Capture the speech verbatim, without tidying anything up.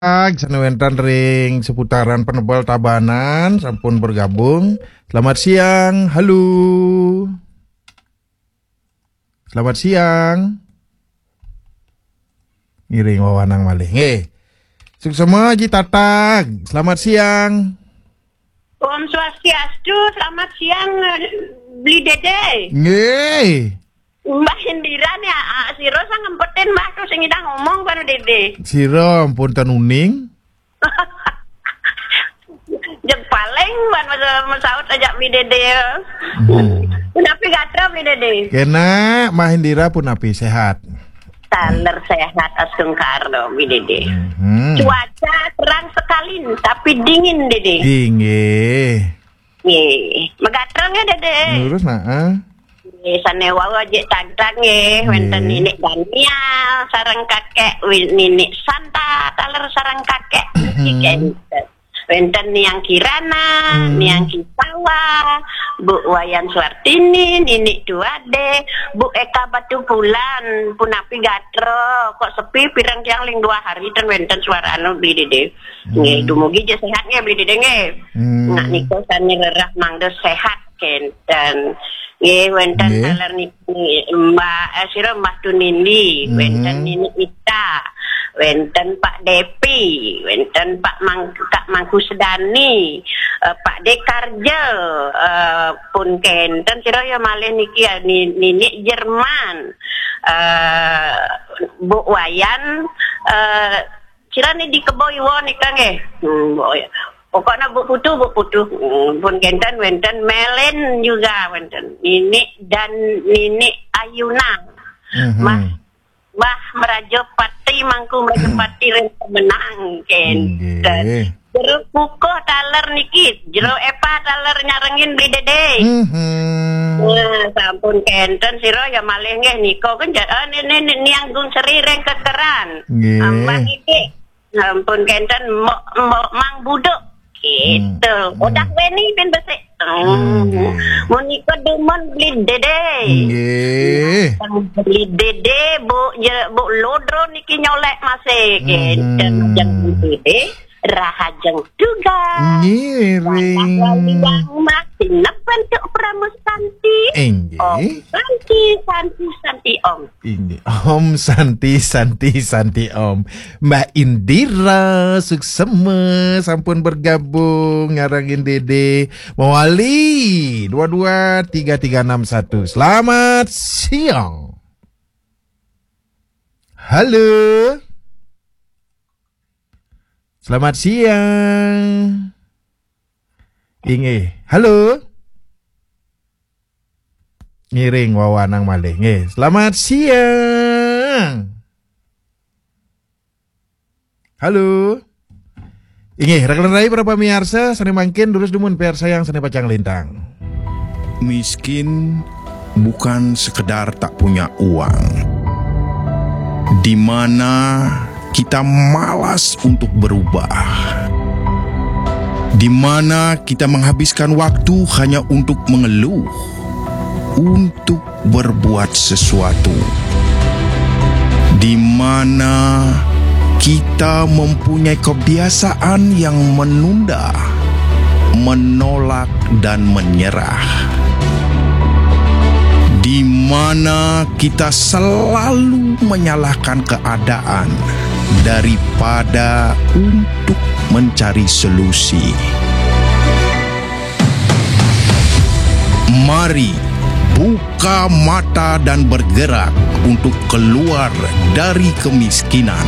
Ag, sane wénten ring seputaran Penebel Tabanan, sampun bergabung. Selamat siang, halo. Selamat siang. Ngiring wewanang malih. Nggih. Suksema Ji Tatag. Selamat siang. Om Swastiastu, selamat siang, Bli Dede. Nggih. Mbah Indira nih, ah, sira sang ngempetin Mbah tuh sing ngidang ngomong karo Dede. Sira ampun ten uning. Jeg paling ban masa mesaut aja Bli Dede. Hmm. Punapi gatra Bli Dede? Kena, Mbah Indira punapi sehat? Taler sehat astungkara Bli Dede. Hmm. Cuaca terang sekali tapi dingin Dede. Inggih. Nggih. Megatreng ya Dede. Lurus nah. Ah. Nggih, sane wau ajik tagtag nggih, wenten Nggih. Ninik Daniel sareng kakek wi-, Ninik Santa taler sareng kakek. Nggih, kenten. Wenten Niang Kirana, Hmm. Niang Kisawa, Bu Wayan Suartini, Ninik Tuade, Bu Eka Batu Pulan, punapi gatra, kok sepi pireng tiang ling dua hari ten wenten suara anu Bli Dede. Nggih, Hmm. dumugi je sehat nggih Bli Dede nggih. Hmm. Nak nika sane rerah mangda sehat kenten. Nggih, wenten Nggih. Taler niki Mbak, eh, sira Mbah Tunindi, Hmm. wenten Nini Ita, wenten Pak Depi, wenten Pak Mang-, Kak Mangku Sedani, eh, Pak Dekarja, eh, pun kenten sira ya malih niki ya Ni-, Nini Jerman, eh, Bu Wayan, eh, sira ni di Kebo Iwa nika nggih. Hmm, Bu Wayan. Pokoknya Bu Putu, Bu Putu. Hmm, pun kenten wenten Melen juga wenten. Nini dan Nini Ayuna. Mhm. Mbah, Mbah Meraja Pati, Mangku Meraja Pati ring Pemenang kenten. Nggih. Jero Kukuh taler niki, Jero Epa taler nyarengin Bli Dede. Mhm. Nah, sampun kenten sira ya malih nggih nika kan ja-, eh, ni, ni, ni, Niang Gung Seri ring Kekeran. Nggih. Ambah iki. Sampun kenten Mbok, Mbok Mang Buduk. Gitu. Hmm. Udah Weni ben besik. Hmm. Nggih. Menika dumun Bli Dede. Nggih. Bli Dede, Bu, ya, Bu Lodro niki nyolek masih. Kenten Mhm. Jeng Bli Dede. Rahajeng tugas. Ngiring. Wali Wang Mas, nepen tuk Pramu Santi. Inggih. Om Santi, Santi, Santi, Om. Inggih. Om Santi, Santi, Santi, Om. Mbak Indira Suksema sampun bergabung ngarangin Dede. Mawali dua dua tiga tiga enam satu. Selamat siang. Halo. Selamat siang. Inggih. Halo. Ngiring wewanang malih. Nggih. Selamat siang. Halo. Inggih, rekan rai para pamiarsa, sane mangkin durus dumun piarsayang sane pacang lintang. Miskin bukan sekedar tak punya uang. Di mana kita malas untuk berubah. Di mana kita menghabiskan waktu hanya untuk mengeluh, untuk berbuat sesuatu. Di mana kita mempunyai kebiasaan yang menunda, menolak, dan menyerah. Di mana kita selalu menyalahkan keadaan daripada untuk mencari solusi. Mari buka mata dan bergerak untuk keluar dari kemiskinan.